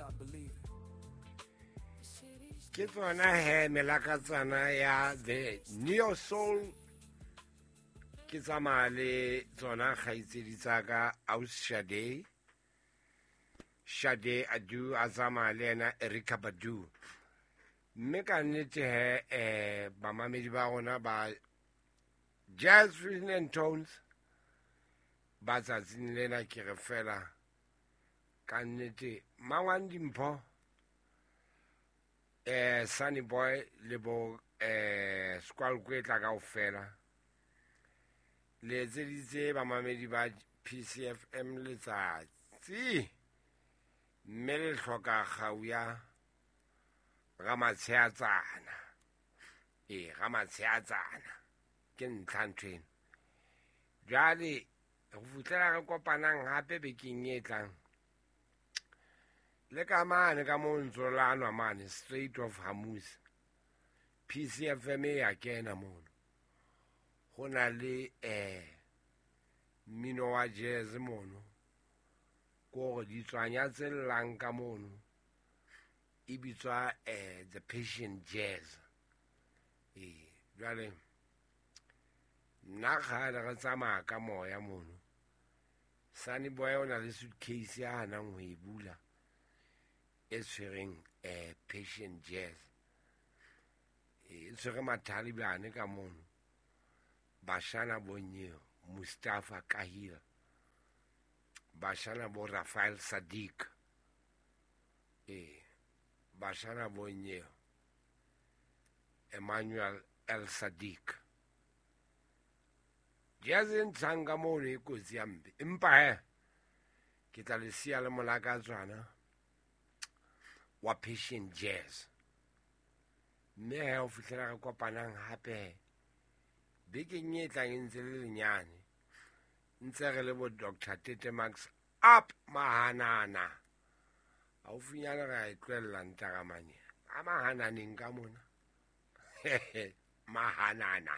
Stop believing. Ke tsona he melakatsana ya the Neo Soul. Ke tsamaya le tsona kgaitsedi tsa ka, aus Shade, Shade Adu, a tsamaya le yena Erykah Badu. Mme ka nnete he, bamamedi ba rona ba Jazz Fusion and Tones ba tsatsing lena, ke re fela ka nnete mangwane dimpho, Sunny Boy le bo Squalkwetla kaofela, le etseditse bamamedi ba PCFM letsatsi, mme le hloka kgau ya Ramatsheatsana. Ee, Ramatsheatsana ke ntlha ntho eno. Jwale go fitlhela re kopanang gape bekeng e tlang, le ka mane ka mo ntso lanwa mane Strait of Hormuz, PCFM e ya kena mono. Go na le mmino wa jazz mono, ko gore ditswanya tse llang ka mono e bitswa the Passion Jazz. Ee, jwale nna kgale re tsamaya ka moya mono. Sunny Boy o na le suitcase ya hanang ho e bula e tshwereng Passion Jazz, e tshwere mathalibane ka mono, bashana bonyeo Mustafa Kahil, bashana bo Rafael Sadiq, bashana bonyeo Emmanuel El Sadiq. Jazz e ntshang ka mono e kotsi ya mpe, empa he ke tla le siya le molakatswana wa Passion Jazz. Mme he ho fihlela re kopanang hape bekeng e tlang, e ntse le lenyane, ntse re le bo Dr Tete Max up mahanana haufinyane, re a e tlohella ntaramane a mahananeng ka mona mahanana.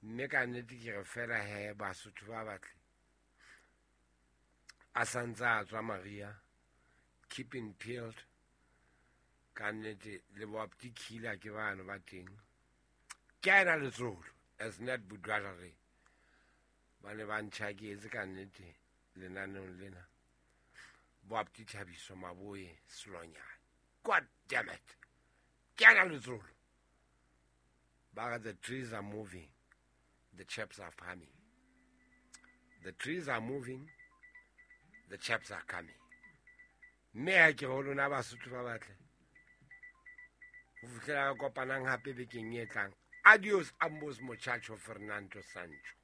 Mme ka nnete ke re fela he, Basotho ba batle a santse a tswa Maria keeping peeled. Ka nnete le bo Aptikila ke bano ba teng, ke a ena letsolo as net budwalare ba ne ba ntjhaketse ka nnete lenaneong lena, bo Apti Thabiso Maboe Selonyane. God damn it, ke ana letsolo ba re the trees are moving, the chaps are coming. The trees are moving, the chaps are coming. Mme ha ke re ho lona Basotho ba batle, ho fihlela re kopanang hape bekeng e tlang, adios ambos muchacho. Fernando Sancho.